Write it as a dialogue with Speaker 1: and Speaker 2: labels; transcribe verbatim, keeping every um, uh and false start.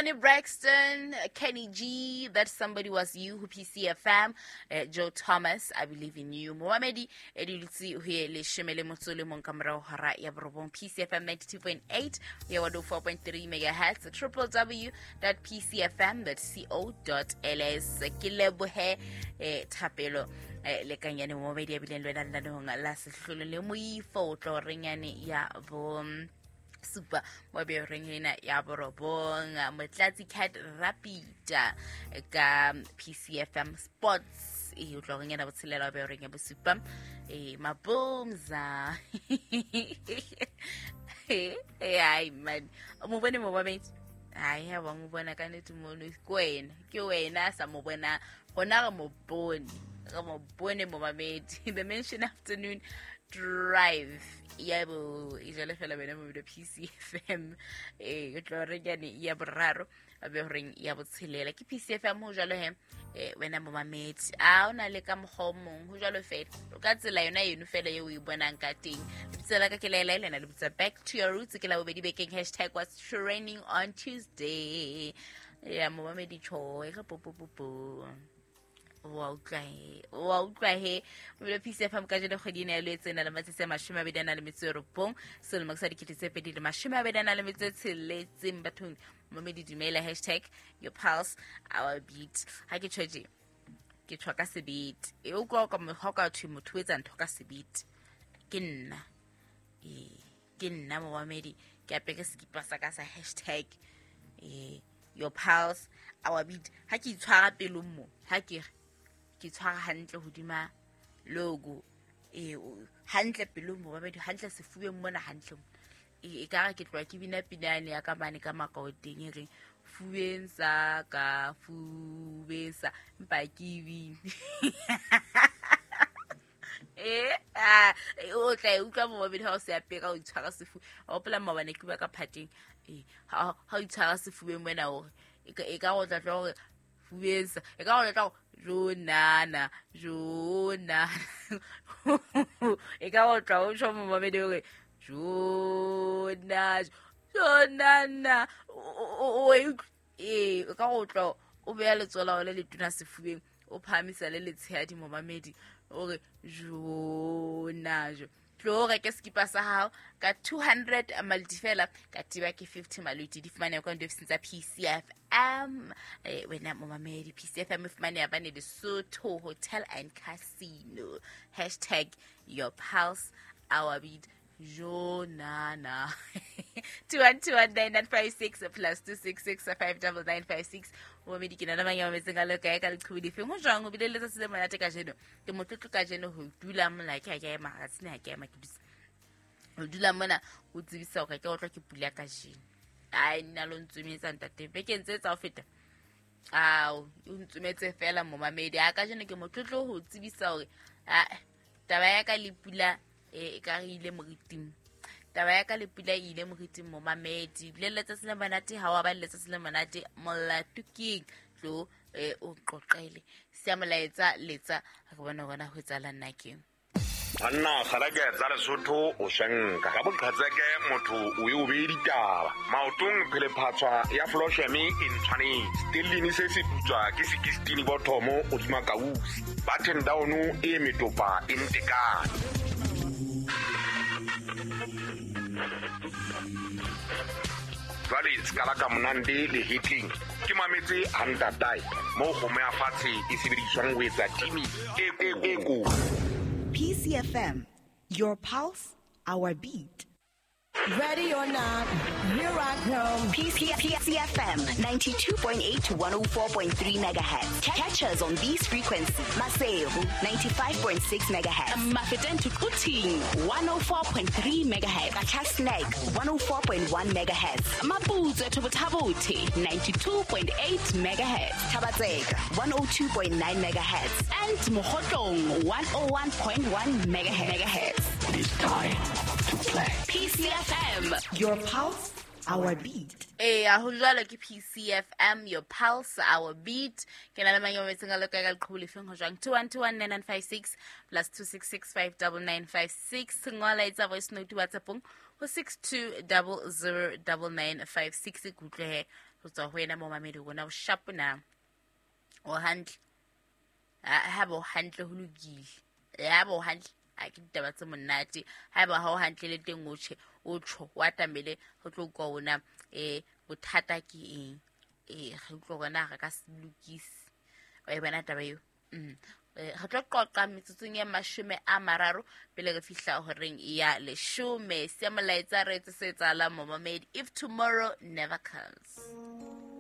Speaker 1: Toni Braxton, Kenny G, That Somebody Was You, ho P C F M, eh, Joe Thomas, I Believe in You. Momamedi e dutse ho ye leshome le motso le mong ka morao hora ya borobong. P C F M ninety-two point eight, ya one oh four point three megahertz, triple w dot p c f m dot co dot l s. Ke lebohe eh, thapelo eh, le kanyane momamedi ya bileng le wena lenaneong la sehlolo le moifo o tlo renyane ya bo supa mo be reng ena ya borobong. Motlatsi Cat Rapida ka P C F M Sports e o tlo reng ena botshelela be reng ya bosupa e mabomza. Ai man, mo bone mo babedi ai ha ba mo bona ka nete mono ke wena ke wena sa mo bona gona re mo bone re mo bone mo mamedi. The Mention Afternoon Drive yebo e jale fela bene mo video P C F M e o tlo re nyane ya boraro be horeng ya botshelela ke P C F M ho jalo he eh wena mo mamedi a ona le ka mokgwa o mong ho jalo fela o ka tsela yona eno fela eo o e bonang ka teng. Lebitso la ka ke Laila lena le bitsa Back to Your Roots ke la bobedi bekeng hashtag what's trending on Tuesday ya mo mamedi cho e re po po po po wa utlwa he wa utlwa he mo P C F M ka jeno kgwedi ena ya Lwetse e na le matsatsi a mashome a mabedi a na le metso e robong selemo sa dikete tse pedi le mashome a mabedi a na le metso e tsheletseng. Bathong momedi dumela hashtag your pulse our beat. Ha ke tjho tje ke tjho ka sebete e utlwa ka mokgwa ka thwe motho o etsa ntho ka sebete ke nna e ke nna momamedi ke apere sekipa sa ka sa hashtag eh your pulse our beat. Ha ke itshwara pelong mo ha ke re ke tshwara hantle hodima logo e hantle pelong mo babedi hantle sefubeng mona hantle e ka re ke tloa ke bina pinane ya ka mane ka makaoteng e reng fubeng sa ka fubeng sa mpa ke bine eh ah o tla e utlwa mo babedi ha o se apera o itshwara sefu o hopola maobane ke bua ka phateng eh ha ha o itshwara sefubeng mona hore e ka go tla tla hore fubeng sa e ka go tla Jonana, Jonana. E ka go tla o tjho mo mamedi hore Jona, Jonana. O e ka go tla o beya letsoho la le letona sefubeng o phahamisa le letshehadi mo mamedi o re Jona jo. Tlo reke sekipa sa hao ka two hundred maliti fela ka tiba ke fifty maliti di fumaneha kwa diofising tsa P C F M. Eh wena momamedi P C F M e fumaneha bane Lesotho Hotel and Casino. Hashtag your pulse our beat Jonana. two one two one nine nine five six plus two six six five nine nine five six. Momamedi ke nna mang ya mametseng ka le kae ka leqhubu lefeng ho jwang o bile le letsatsi le monate kajeno ke motlotlo kajeno ho dula mola ke ha ke ema ha tsene ha ke ema ke dutse ho dula mona ho tsebisa hore ke otlwa ke pula kajeno ai nna lo ntsumetsa ntate bekeng tse tsa ho feta ao o ntsumetse fela momamedi a kajeno ke motlotlo ho tsebisa hore a taba ya ka le pula e ka re ile moriting taba ya ka le pula e ile moriting momamedi le letsatsi le monate ha wa ba le letsatsi le monate molato keng tlo eh o qoqele se molaetsa letsa re bona gona ho etsahala nna keng
Speaker 2: Banna kgarake tsa Lesotho o shenka ka boqhetseke motho o e o beye ditaba maotong phelephatswa ya flosheme e ntshwanetse stellini se se putswa ke sixteen bothomo hodima kausi button down e metopa e ntekane. Jwale skala ka monande le hitling ke mametse hantatai mo kgomo ya fatshe e sebediswang ho etsa timi e e ko.
Speaker 3: P C F M, your pulse, our beat.
Speaker 4: Ready or not, here I come.
Speaker 3: P C F M ninety-two point eight to one oh four point three megahertz. Catch us on these frequencies. Maseru ninety-five point six megahertz.
Speaker 5: Mafeteng to Quthing one oh four point three megahertz.
Speaker 3: Qacha's one oh four point one megahertz.
Speaker 5: Maputswe to Botha-Bothe ninety-two point eight megahertz.
Speaker 3: Thaba-Tseka one oh two point nine megahertz.
Speaker 5: And Mokhotlong one oh one point one megahertz.
Speaker 6: It is time to play.
Speaker 5: P C F M,
Speaker 3: your pulse, our beat.
Speaker 1: Eh, ho jwalo ke P C F M, your pulse, our beat. Ke na le mang ya mametseng a le kae ka leqhubu lefeng ho jwang? two one two one nine nine five six plus two six six five nine nine five six. Ngola etsa voice note WhatsAppong ho six two zero zero nine nine five six. Ke utlwe he Ho tswa ho wena momamedi rona o sharp na o hantle ha ba o hantle ho lokile ya ba o hantle a ke ditaba tse monate ha ba ha o hantle le teng o tjhe o tjho wa tamele ho tlo utlwa ona eh bothata ke eng eh re utlwa rona re ka se lokise wa e bona taba eo. Mm re tlo qoqa metsotsong ya mashome a mararo pele re fihla horeng ya leshome. Se molaetsa re etse se etsahalang momamedi if tomorrow never comes.